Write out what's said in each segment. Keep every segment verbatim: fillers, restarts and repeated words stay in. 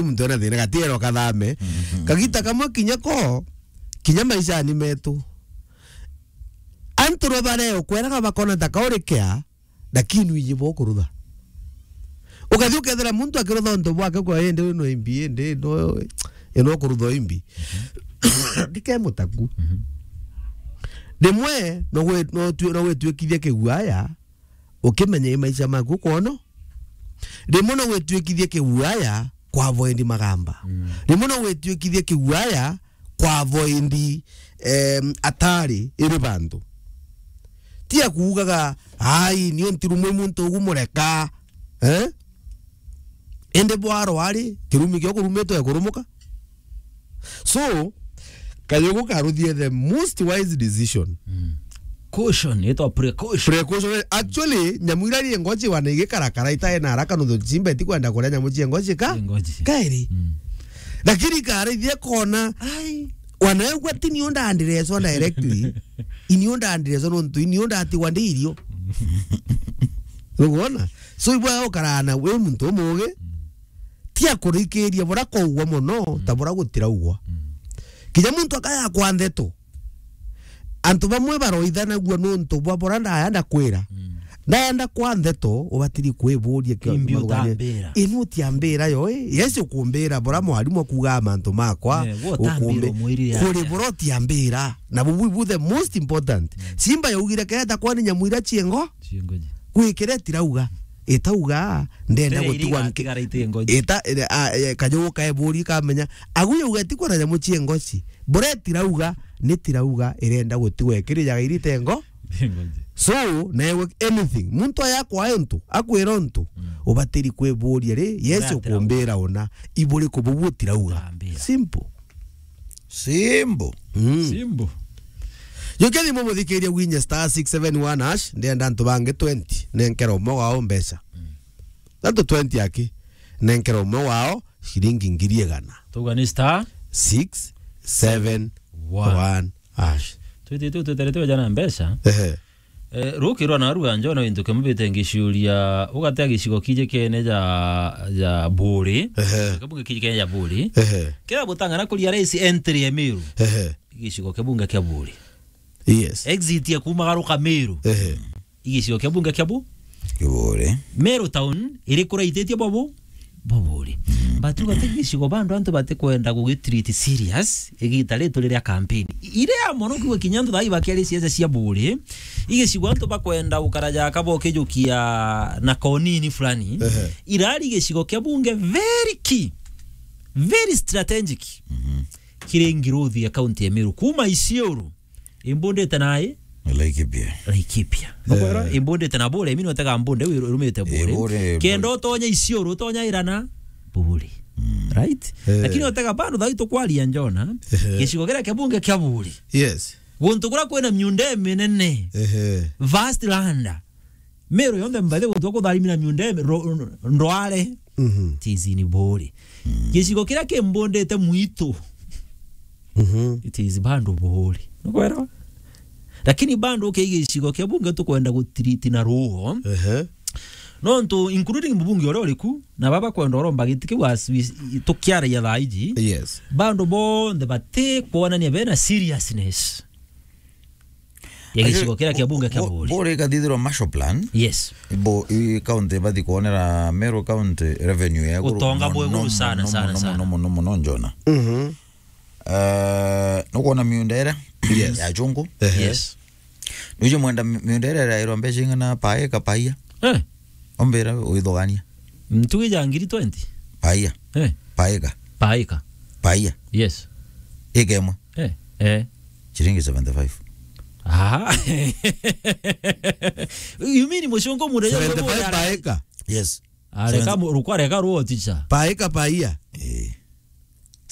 muntu ena thina, gatiero kathame. Kagita kamwe kinya ko, kinya maishani metu. Antu no bareokweraga bakona ta kaurikea, lakini wiji bo kurutha. Ukathi ukethira muntu akirutha untu bwake kwa, "Indi uyu no imbi, indi no, ino kurutha imbi." Ndike mutaku. Rimwe no gwe-, no tu-, no gwituikithia kiguaya, ukimenya i maisha maku kwono. Rimwe no gwituikithia kiguaya kwa avoid magamba. Rimwe no gwituikithia kiguaya kwa avoid, em, atari iri bantu. Ti akuugaga, "Ai, ni untirumwe muntu ugu mureka." Eh? Indi bwaro ari, kirumi kio kurumitwe kurumuka. So, Kajugu karuthie the most wise decision. Caution, itwa precaution. Precaution. Actually, nyamu ira ri ngochi wana igikarakara itae na haraka nontu chimba itikwenda kuria nyamu cia ngochi ka? Cia ngochi. Kairi. Lakini karithie kona, ai, wanaegwa ti niu ndandirecwa directly. Iniu ndandirecwa nontu iniu ndatigwa ndi irio. Nukwona? So, ibwa ukarana wi muntu umugi, ti akurikiria bura kwaugwa mono, ta bura gutiraugwa. Kinya muntu akaya kwa ndeto. Antu bamwe baroithanagua nontu bwa bura ndaya ndakwira. Ndaya ndakwa ndeto, ubatiri kwiburia ki-, imbi mathugania. Utambira. Inu utiambira yo, eh? Yes, ukumbira bura mwarimu akuuga mantu makwa. Eh, we utambira ukumbi-, umwirire kuri atia? Bura utiambira. Na bubu ibu the most important. Simba yaugire keta kwani nyamu ira ciengo? Ciengo ji. Gwikire tirauga. Itauga, ndenda gutigwa nki-, igatigara iti ngoji. Ita, ire-, a, e, Kajugu kaeburi kamenya. Agu yauga ti kwona nyamu cia ngoci. Bure tirauga, ni tirauga, irenda gutigwa ikirijaga irite ngo. Ngoji. So, newe anything. Muntu aya kwa untu, akwira untu, ubatiri kwiburia ri, Yesu ukumbira una, iburi kububu tirauga. Simple. Simbo. Mm. Simbo. Jukia thimu muthikiria gwinye star six seven one hash, ndienda antu bangi twenty, nenkera umwe wao mbeca. Antu twenty aki, nenkera umwe wao shilingi ngiri igana. Tuga ni star six seven one hash. Twiti tu tweterete jana mbeca. Ehe. Eh, rukirwa na ruga njona into kimubite ngiciuria, ugatea gicigo kiji kene ja, ja Buri. Ehe. Kabunge kiji kene ja Buri. Ehe. Kira butangana kuria raisi entry ya Meru. Ehe. Gicigo kia bunge kia Buri. Yes. Exit ya kumagaruka Meru. Ehe. Igicigo kia bunge kia Bu-, Kiburi. Meru town iri kuraititie bobu. Buburi. But ugate gicigo bandu antu batikwenda gugitreat serious, igita ritu riria campaign. Ire ya mono kiuga kinya antu thai bakiari siasa cia Buri, igicigo antu bakwenda gukara jaka bokijukia na konini fulani. Ehe. Irari gicigo kia bunge very key, very strategic. Kiri ngiruthi ya county ya Meru. Kuma Isiolo, imbundite nai? Laikipia. Laikipia. Nukwera, imbundite na Buri, imi notega mbunde, wi-, rumite Buri. Buri, kenda Buri. Utonye Isiolo, utonya irana, Buri. Right? Eh. Lakini otega bado thai tukwaria njona, gicigo kiria kia bunge kia Buri. Yes. Guntu kuria kwina miunda minene. Ehe. Vast land. Meru yonthe mbathe gutwa kutharimira miunda imi, ro-, ndware. It is in Buri. Gicigo kiria kimbundite mwitu. It is bando Buri. Nukwera? Lakini bando uke gicigo kia bunge tukwenda gutreat na ruo. Ehe. Nontu including mubunge uria uriku, na baba kwenda uromba giti kiu as we, tukiaragia thaa iji. Yes. Bando bonthe bati kwonania bena seriousness ya gicigo kiria kia bunge kia Buri. Buri ikathithirwa Marshall Plan. Yes. Bo, i county bathi kuonera Meru County revenue ya iguru. Utonga bwa iguru sana, sana, sana. Muno, muno, muno, njona. Eh, nukwona miunda iria ya chungu? Ehe. Yes. Nuje mwenda mi-, miunda iria irairwa mbeca ing'ana paika paia? Eh. Ombira withogania. Ntugi ja ngiri twenty? Paia. Eh. Paika. Paika. Paia. Yes. Ika imwe. Eh. Eh. Chiringi seventy-five. Aha. You mean mucungu mure seventy-five paika? Yes. Areka seventy. Mu-, ruko areka ruo ticha. Paika paia. Eh.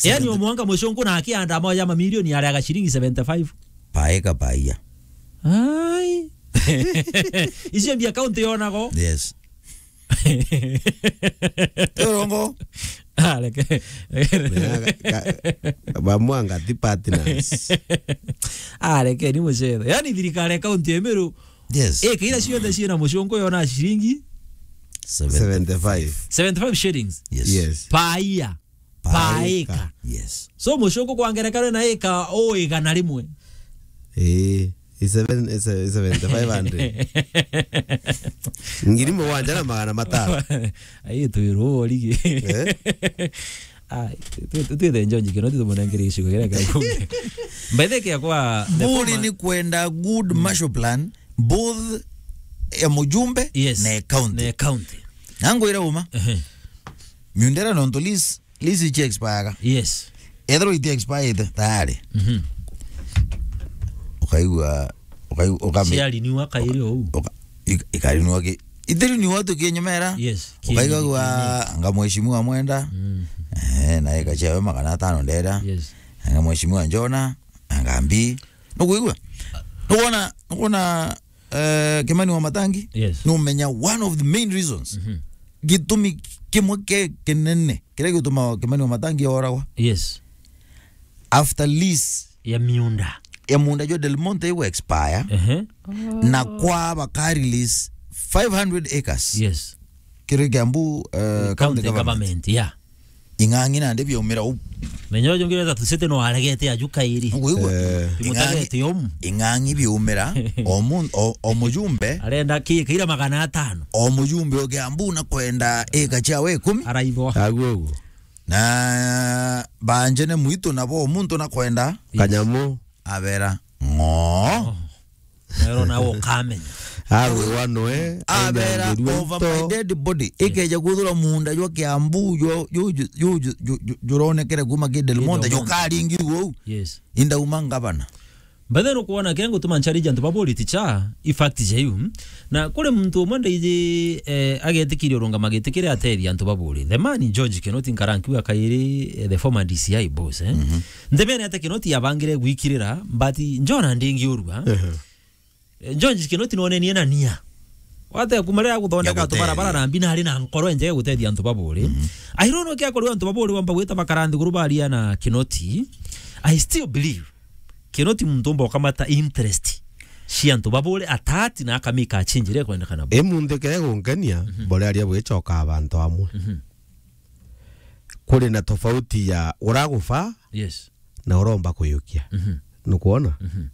Yani seventy. Omwanga mucungu na akianda moja mamilioni arega shilingi seventy-five. Paika paia. Ai. Icio mbia county yonago? Yes. Turongo. Ah, reke. Ka-, ka-, bamwanga ti partners. Ah, reke ni mucetho. Yani thirikari ya county ya Meru. Yes. Eh, kira ciothe ciina mucungu yona shilingi seventy-five. Seventy-five shillings. Yes. Yes. Per year. per acre. Yes. So, mucungu kwa ngerekano na acre o igana rimwe. Eh, i seven, i se-, i seventy-five hundred. Ngiri mugwanja na magana matano. Ai, twirwo origi. Eh? Ah, tu-, tu-, twithe Njonji Kinoti tumunengere gicigo kiria kia Bungei. By the way, kia kwa the Buri former ni kwenda good Marshall Plan, both ya mujumbe Yes. na ya county. Na ya county. Na ngwira uma. Ehe. Miundera nontu lease, lease ichi expire. Yes. Ethirwa iti expire tayari. Mhm. Ukaigua, ukaigua, ukame- Ciariniwa kairi ou. Uka-, ik-, ikarinwa ki-, ithiri ni watu kinyumera. Yes. Ukaigagua anga mheshimiwa Mwenda. Mm. Eh, na eka ciawe magana atano ndera. Yes. Anga mheshimiwa Njona, anga mbi. Nukuigua? Nukuona, nukuona, eh, Kimani wa Matangi? Yes. Numenya one of the main reasons. Mhm. Gitumi kimwe ke kinene kiria gituma Kimani wa Matangi oragwa. Yes. After lease Ya miunda. ya munda jwa Del Monte igu expire, Ehe. na kwa baka release five hundred acres. Yes. Kiri Kiambu, eh, county County government. government, yeah. Ing'ang'i nandi biaumira u. Menya uju ngi wetha tusete no aregete aju kairi. Uguigua? Eh. Ing'ang'i, Timutagete omu. Ing'ang'i biaumira, o mun-, o, o mujumbe. Arenda ki, kaira magana atano. O mujumbe o Kiambu na kwenda eka ciawe ikumi. Araithwa. Aguo uguo. Na banjene mwitu nabo muntu na kwenda Yes. kanyamu. Abera ng'oo. Oh. Nero nawe ukamenya. Agwirwa noe, Abera ainangirwe over into my dead body. Yes. Ikeja kuthura munda jwa Kiambu, jwa, ju-, ju-, ju-, ju-, ju-, juronekere kuma ki Del Del Monte, Monte. Jukaringirwe uu. Yes. Indauma ngavana. But then ukuona ke ngutuma nchallenge antu ba Buri ticha, i fact ja iu. Na kuri muntu umwe ndaiji, eh, agetikiria urungama giti kiria atethia antu ba Buri. The man George Kinoti nkara nkiuga kairi, eh, the former D C I boss, eh. Mhm. Nthemene ate Kinoti yabangire gwikirira, but Njona ndingiurua. Ehe. Eh, George Kinoti nonenie na nia. Wate kuma riria guthondeka Ya guteethia. tubarabara na mbi na ari na nkoro enjega gutethia antu ba Buri. Mhm. I don't know kia kuri antu ba Buri bamba gwita bakara nthiguru baria na Kinoti. I still believe Kinoti muntu umba ukamata interest cia antu ba Buri atati na akamika change iria ikwendekana. Imunthi kere gunkenia, Mhm. bore aria bwichoka abantu amwe. Mhm. Kuri na tofauti ya uragufa Yes. na uromba kuyukia. Mhm. Nukwona? Mhm.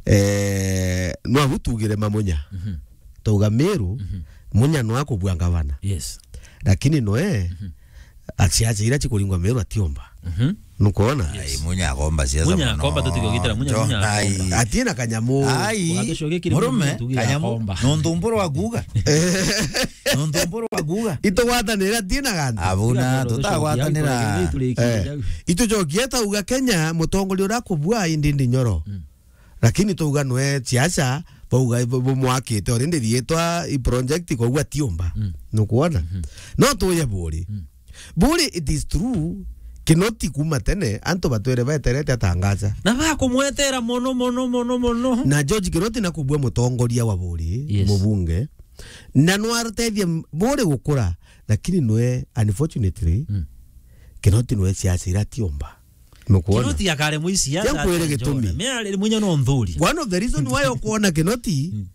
Eh, nwabu tugire mamunya. Mhm. Tauga Meru, Mhm. munya no akubua ngavana. Yes. Lakini noe, Mhm. asiacha ira chikuringwa Meru atiomba. Mhm. Nukwona? Yes. Ai, munya akomba siasa Munya muno. akomba, tutigogitira munya, Njo-, munya akomba. Ai. Atina kanyamu. Ai, Ugatushokia kiri murume, munya tugira kanyamu, akomba. nontu mburu wa kuuga. Nontu mburu wa kuuga. Itugwatanira tina gantu. Abuna, Tiga ndio tutagwatanira. Eh. Itujokie tauga Kenya, mutongoria uria akubua indi ndi nyoro. Mm. Lakini tauga nwe siasa, bauga bu-, bumwakite already riitwa i project, koguo atiumba. Mm. Nukwona? Mhm. No tuye Buri. Mm. Buri, it is true, Kinoti kuma tene, antu batwire beterete atangaza. Na bakumwetera mono, mono, mono, mono. Na George Kinoti nakubua mutongoria wa Buri, Yes. mubunge. Na nwarutethia m-, Buri gukura, lakini nwe, unfortunately, Mm. Kinoti nwe siasa ira atiumba. Nukwona? Kinoti akare mwisi ya Tia nkwire gitumi. Me ari munya no nthuri. One of the reason why ukuona Kinoti Mm.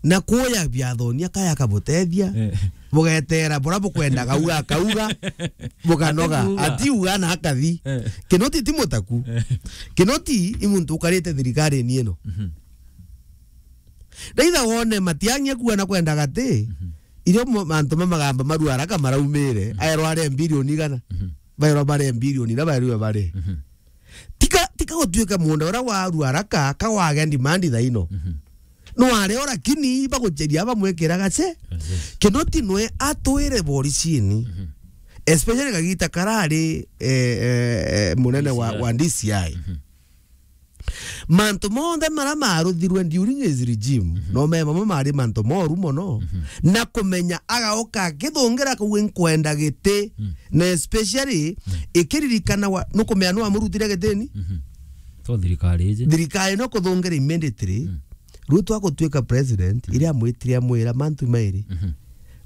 na kuya biathoni akaya akabutethia, Eh. bugetera bura bukwendaga uga akauga, bukanoga, Atiuga. atiuga na akathi. Eh. Kinoti ti mutaku. Eh. Kinoti i muntu ukarite thirikari-ini ino. Mhm. Ndaitha wone Matiang'i akua na kwenda gati, Mhm. irio mo-, mantu ma magamba marua haraka maraumire, Mhm. aerwa aria bilioni igana. Mhm. Baerwa bare bilioni na baerwa bare. Mhm. Tika, tika gutuika munda uria warua haraka, ka wagea demand thaino. Mhm. No areo lakini bagucheria bamwikira gace. Yes, yes. Kinoti nwe atwire boricini. Mhm. Especially kagita karari, eh, eh, eh, munene wa, D C I. wa D C I. Mhm. Mantu monthe mara maruthirwe during his regime, Mhm. no me mamwe mari mantu moru mono. Mhm. Na kumenya agaoka akithungira kau nkwenda giti, Mm. na especially Mm. ikiririkana wa, nukumenya nu amurutire gitini? Mhm. To thirikari iji. Thirikari no kuthungira immediately. Mm. Ruto agutuika president, Mm. iria amwitire amwira mantu mairi. Mhm.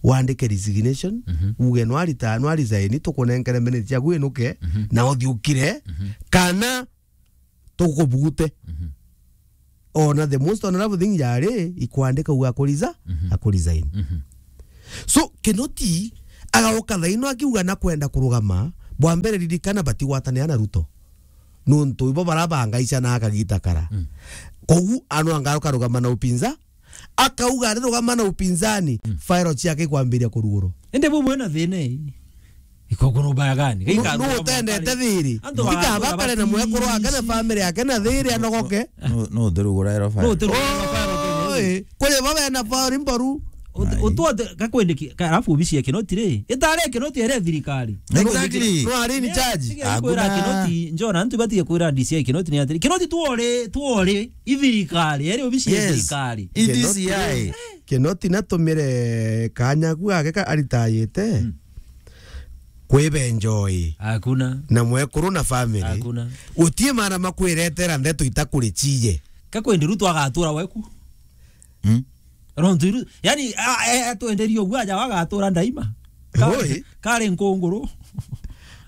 Wandike resignation, Mhm. uge no arita, no resign, tukunenkere minutes ciaku inuke, Mhm. na uthiukire, Mhm. kana tukubugute. Mhm. Ona the most honorable thing yari ikwandika uga akuriza, Mhm. akurisign. Mhm. So, Kinoti agaoka thaino akiuga na kwenda kurugama, Bwa mbere, ririkana batigwatanira na Ruto. Nontu ibo barabanga ica na akagita kara. Mm. Kogu ano anga ukarugama na upinza, akauga arirugama na upinzani, mm, file ciake ikwambiria kurugurwa. Ende bu bwena thina ii. Iko kuna ubaya gani? Nu-, nu utendete thiri. Antu ndikaba bakare na mwekuru wake na family yake na thiri anogoke. No, no, thirugura ero file. No, thirugura ero file. Oi, kuri bo bena file mboru. Utu-, ai, utuote, gakwendeki, ka-, alafu obici ya Kinoti ri, itari ya Kinoti, ere thirikari. Exactly. No ari in charge. Tiga kwira hakuna Kinoti, njona, antu batige kwira D C I Kinoti ni atiri. Kinoti tuore, tuore, i thirikari, ere obici ya, yes, thirikari. I D C I. Kinoti, Kinoti natumire kanya ku gake ka aritayite. Mm. Kwibe enjoy. Hakuna. Na mwekuru na family. Hakuna. Utie maana makwiretera ndeto itakuri ciye. Kakwendi Ruto agatura weku. Mm. Rontu iru, yani, a, e, atwenderie uguo aja agatura ndaima. Ka-, oi, kari nkunguru.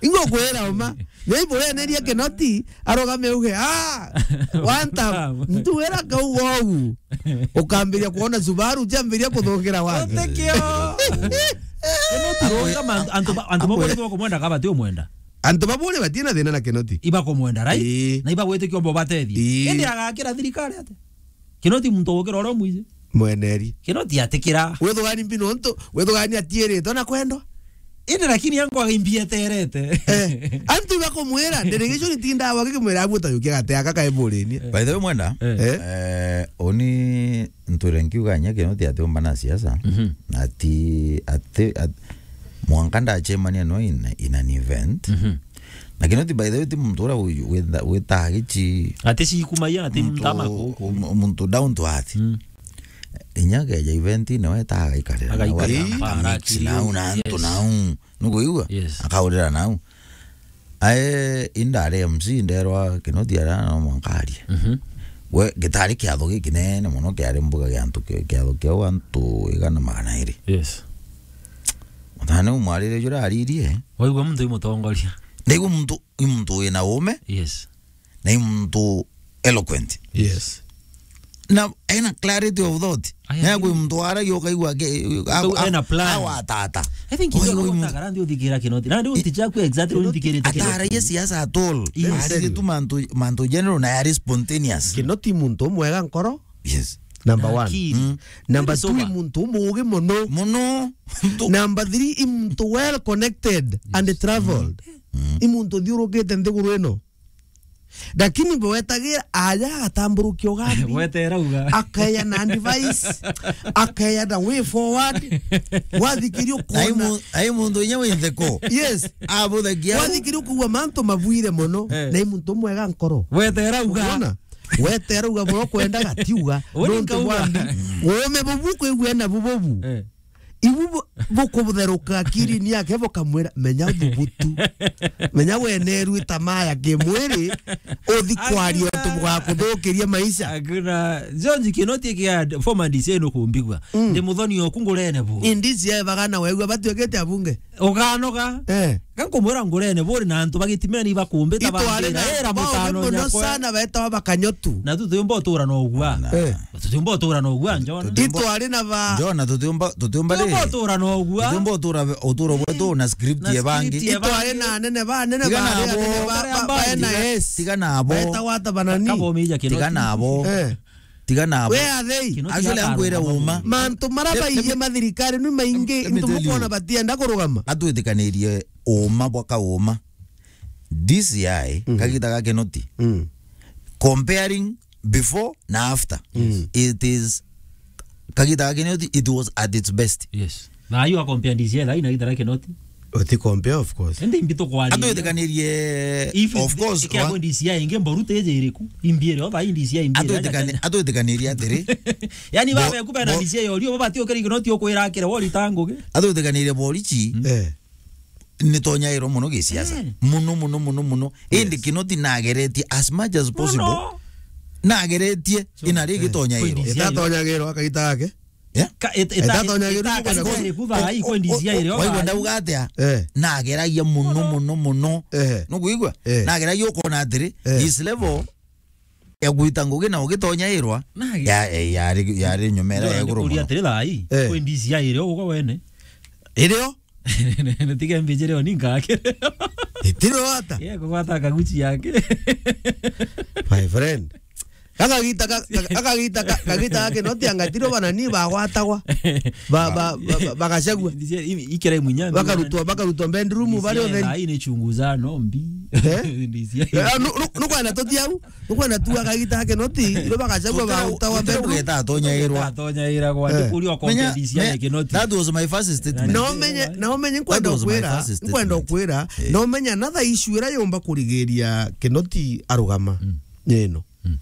Ingo kwira uma. Nei bureneria Kinoti, arugame uge, "Ah, one time, ntuwira kauga ugu." Ukambiria kuona Subaru, jambiria kuthukira wake. Utikio. Kinoti ronga man-, antu ba-, antu ba bure bakumwenda kaba ti umwenda. Antu ba bure batina thina na Kinoti. Ibakumwenda, right? Ii. Na ibagwitikia umbo batethie. Ii. Indi agakira thirikari ate? Kinoti muntu ugukira uria umwiji. Mweneri. Kinoti atikira. Withugani mbi nontu, withugani atiiritwe na kwendwa. Indi lakini yangu agaimbieterete. Eh, antu ibakumwira, ndirigicu nitindawa gikimwira abu utayukia gate aka kae burinie. By the way, mwenda, eh, eh, uni ntwire nkiuga nya Kinoti atiumba na siasa. Mhm. Ati, ati, at-, mwanka ndachemania no in, in an event. Mhm. Na Kinoti, by the way, ti muntu uria wi-, witha-, witaga gichi. Ati cikumaya, ati muntu, mtama kuku. M-, muntu down to earth. Mm. Inya keja event-ini we ta agaikarira nau, agaikarira, aka-, mpara, akamix nau na antu nau. Nukuigua? Yes. Akaurira nau. Ae, indari M C, nderwa Kinoti ara no mwanka arie. Mhm. We, gitari kiatho gikinene mono kiari mbuga gia antu ki-, kiatho kiau antu igana magana iri. Yes. Mutane umwarire jura aririe. Waigua muntu imutongoria. Ndaigua muntu, i muntu wina ume. Yes. Na i muntu eloquent. Yes. Na ena clarity of thought. Aya, na kwi muntu waragia ukaigua ke-, a-, ena plan. Awatata. I think oi, oi, muntu ndio thikira Kinoti. Na ndio ticha ku exactly ndio thikira Kinoti. Ataragia siasa at all. Yes. Ari tu mantu, mantu general na ari spontaneous. Kinoti muntu mwega nkoro. Yes. Number one. Akili. Mm. Number two, sober. Muntu umugi muno. Muno. Number three, i muntu well connected and traveled. Mm. I muntu thiurukite nthiguru ino. Lakini bwetagira aja agatamburukia ugambi. Wetera uga. Akeya na advice. Akeya na way forward. Wathikiria ukona. Ai mu-, ai muntu inya wi ntheko. Yes. Abuthagia. Wathikiria ukugua mantu mabwire muno. Eh. Na i muntu mwega nkoro. Wetera uga. Unaona? Wetera uga muno kwenda gatiuga. Uni nontu nkauga. Bwandi. Ume bubu kwigua na bububu. Eh. Ibu bu-, bukubutheruka akiri-ini yake bukamwira, "Menya uthubutu. Menya weneru itamaya kimwiri, uthi kwaria untu bugakuthukiria maisha." Hakuna. George Kinoti kia former D C I nukumbigua. Mm. Ndi muthoni oku ngurene bu. Indisi ya bagana wegua batuikite abunge. Uganoga. Eh. Ga nkumwira ngurene buri na antu bagitimeni bakumbita. Itwari bambira, na era antu baugi mutano muno nyakwa. Sana betawa Bakanyotu. Na tu tuyumba utura na ugua. Na. Eh. Tutiumba utura na ugua, Njona. Tutiumba. Itwari na ba- Njona, tutiumba, tutiumba ri? Tutiumba utura na ugua. Tutiumba utura, uturo bwetu na script ya bangi. Na script ya bangi. Itwari na anene ba, anene ba, tiga na abo. Anene ba, ba, ba, N I S. Tiga na abo. Betawa ata banani? Kabo mija Kinoti. Tiga na abo. Eh. Tiga na abo. Where are they? Kinoti. Actually, akwire uma. Mantu mara baiye mathirikari ni maingi, let me, let me tell you. Ntu mukona batienda kurugama. Atwitikanirie uma bwa kauma. D C I, mm, kagita ga Kinoti. Mm. Comparing before na after. Mm. It is, kagita ga Kinoti, it was at its best. Yes. Na ayo a compare D C I, thaai na gita ga Kinoti. Uti compare, of course. Ende imbi tukwaria. Atwitikanirie, of course, ikia wa- D C I ingi mboru teje iriku. Imbi iri, o thaai D C I imbi iri. Atwitikani-, atwitikanirie atiri. Yani, bo-, babe kuba na bo-, D C I orio, bo bati ukiri Kinoti ukwira akire wori tangugi. Atwitikanirie borichi. Mm. Eh. Ni tonyairwo muno gisiasa. Eh. Muno, muno, muno, muno. Yes. Indi Kinoti nageretie as much as possible. Muno. Nageretie. So, ina rigi, eh, tonyairwo. Kwindi cia- itatonyagirwo akaita gake. Yeah? Ka-, it-, ita-, itatonyagirwo ita-, kukwenda ita-, ku- iri kutha, o-, i kwendi o-, cia iri o-, waigua oba ndauga atia? Eh. Nageragia muno, muno, muno, muno. Eh. Nukuigua? Eh. Nageragia ukona atiri, eh, this level ya gwita ngugi na ugitonyairwa, nage- ya, ya, yari, yari nyumera ya iguru muno. Atiri thaai, eh, kwendi cia iri o ugo wene. Irio? Nitiga mbijire o ni ngakire. Itiro ata? Yeye kugwata kaguchi yake. My friend. Gakagita ka-, ka-, gakagita ka-, kagita gake no tianga tiro bana ni bagwatagwa. Ba, ba, ba, ba, bagacagua. Ndisia, i-, ikira imunya. Bakarutwa, bakarutwa bedroom bari otheri. Ndisia, ina ichunguza no mbi. Eh? Ndisia. Eh, nu-, nu-, nukwenda tuti au? Nukwenda tu akagita gake no ti, iro bagacagua ba utawa bedroom. Geta atonyairwa. Atonyairwa kwa. Eh. Ndikuria kwa ndisia gake no ti. That was my first statement. Na umenye, na umenye nkwenda kwira, nkwenda kwira, no menya another issue ira yomba kurigiria Kinoti arugama. Mm. Nino. Mm.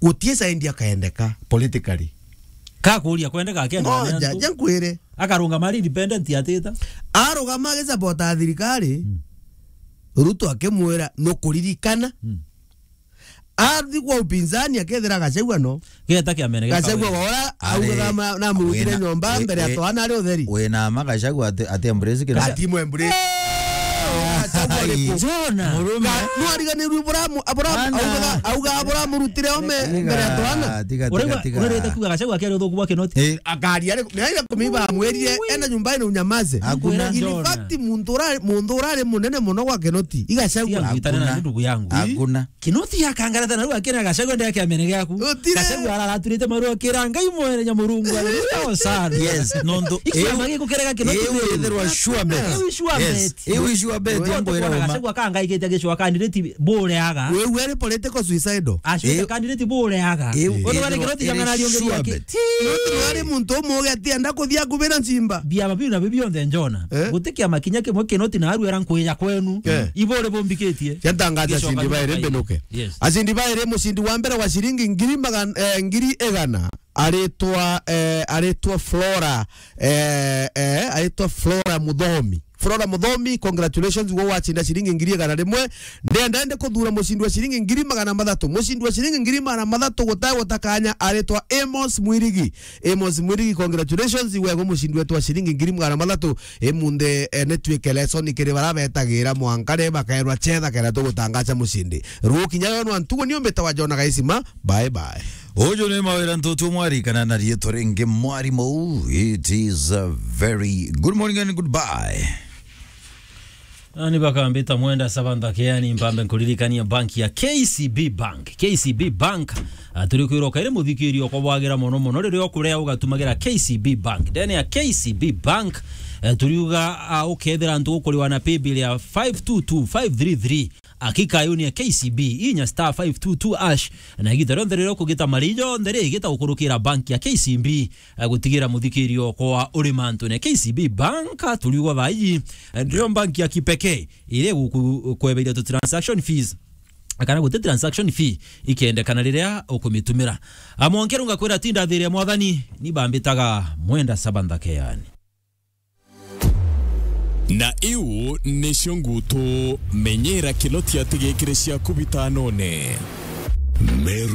Gutie side akaendeka politically. Ka kuria kwendeka akenda. Ngoja, ja nkwire. Akarungama ari independent atita. Arugama agisapota thirikari. Mm. Ruto akimwira nukuririkana. Mm. Athi kwa upinzani akethira Gachagua no. Geta kiamene geka Gachagua we. Ora augaga ma-, na murutire nyomba mbere ya twana ari utheri. We na ma Gachagua ati, ati embrace kina. Ati mwe embrace. Gachagua ari ku? Jona. Murume. Ka-, no ariganirwe Abraham, Abraham, augaga, auga Abraham urutire ome mbere ya twana. Tiga, tiga, tiga. Urarete kuga Gachagua akiari uthuku bwa Kinoti. Eh. Akari ari, ni aira kumiba amwirire, enda nyumba ino unyamaze. Hakuna. In fact, muntu urari, muntu urari munene muno gwa Kinoti. Igachagua. Tiga ngwitane na ndugu yangu. Hakuna. Kinoti akangarata na riu akira Gachagua ndeke amene giaku. Gachagua araraturite maru akira Ngai mwene Nyamurungu, haleluya, Hosana. Yes, nontu ikiama gikukerega Kinoti. Iu ithirwa sure bet. Iu sure bet. Yes, iu sure bet. Nontu nkwira kwona uma. Gachagua kangaikitie gicwa candidate bureaga. Wewe ari political suicidal. Ashwita candidate bureaga. Iu ithirwa Kinoti sure bet. Kinoti ari muntu umwe atienda kuthia kubira nchimba. Biama biu na biu bionthe njona. Eh? Guti kiama kinya kimwe Kinoti na aru era nkwija kwenu. Eh. Ibore bombikitie. Cia ntangaza acindi bairi mbinuke. Yes. Acindi bairi, mucindi wa mbere wa ciringi ngiri magana, eh, ngiri igana. Aritwa, eh, aritwa Flora, eh, eh, aritwa Flora Muthomi. Flora Muthomi, congratulations, gwe wacinda ciringi ngiri igana rimwe. Ndenda ende kuthura mucindi wa ciringi ngiri magana mathatu. Mucindi wa ciringi ngiri magana mathatu gutagwa ta kanya aritwa Amos Mwirigi. Amos Mwirigi, congratulations, wegwe mucindi wetu wa ciringi ngiri magana mathatu. Imunde, eh, ni twike lesson kiri bara betagira mwanka ri bakaerwa chetha kenda tugutangacha mucindi. Rukinya yo nwa ntugo ni umbita wa Jona Gaisima. Bye bye. Uju ni Mawira Ntutu Mwari kana na riitwa ringi Mwarimu. It is a very good morning and goodbye. Ani bakambita mwenda sabantha keani mpambe nkuririkania bank ya K C B Bank. K C B Bank, ah, turi kwirwo kairi muthikirio kwa bwagira mono mono riria ukurea ugatumagira K C B Bank. Ndene ya K C B Bank, eh, turiuga, ah, ukethira antu ukuriwa na paybill ya five two two five three three. Akika yuni ya K C B inya star five two two hash na igita rionthe riria ukugita mari jonthe ri igita gukurukira bank ya K C B. Eh, gutigira muthikirio kwa uri mantune. K C B Bank, turiugwa thaa iji, eh, ndio bank ya kipekee iria igukweberia tu transaction fees. Kana guti transaction fee ikendekana riria ukumitumira. Amwonke runga kwira tinda thiri ya mwathani, ni bambitaga mwenda sabantha keani. Na iu nicio ngutu menyera Kinoti atigikire ciaku bitanone. Meru